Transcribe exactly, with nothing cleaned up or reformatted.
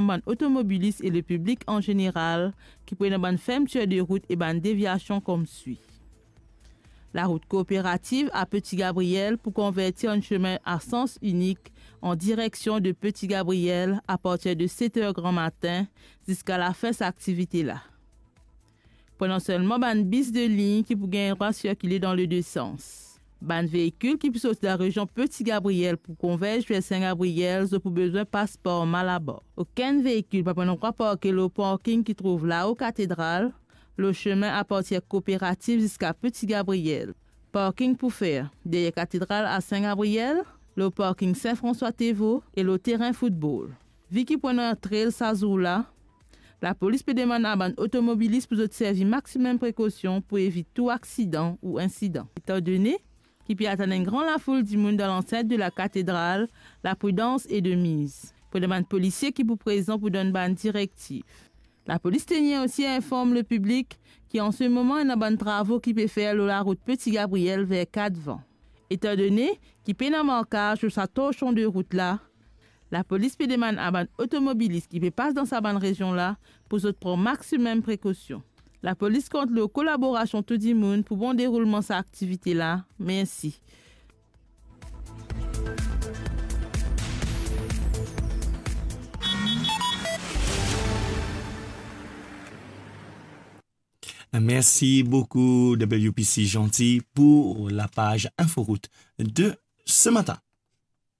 bann otomobilis e lepiblik an zeneral ki pou ena bann fermtir de rout e bann devyasion koumswi. Larout Kooperativ a Petit Gabriel pou konverti an semin a sans inik an direksion de Petit Gabriel apartir de set er granmatin ziska lafin sa aktivite la. Pou ena selman bann bis de lign ki pou gagn drwa sirkile dan le de sans. Bann veikil ki pou sorti dan rezion Petit Gabriel pou konverz ver Saint Gabriel, zot pou bizin pas par Malabar. Okenn veikil pa pou ena drwa parke lor parking ki trouv lao Katedral, lor semin apartir Kooperativ ziska Petit Gabriel. Parking pou fer deryer Katedral a Saint Gabriel, lor parking Saint François Tevo e lor terin foutbol. Vi ki pou ena trail sa zour la, lapolis pe demann a bann otomobilis pou zot servi maximum prekosion pou evit tou aksidan ou insidan. Etandone ki pe atann enn gran lafoul dimoun dan lansint de la Katedral, lapridans e de miz. Pou bann polisie ki pou prezan pou donn bann direktiv. Lapolis tenir osi a inform lepiblik ki an se moman ena bann travo ki pe fer lor larout Petit Gabriel ver Katvan. Etandone ki pena markaz lor sa torsion de rout la, lapolis pe demann a bann otomobilis ki pe pas dan sa bann rezion la pou zot pran maximum prekosion. Lapolis kont lor kolaborasion tou dimoun pou bon deroulman sa aktivite la. Mersi. Merci beaucoup, W P C Gentil, pour la page Inforoute de ce matin.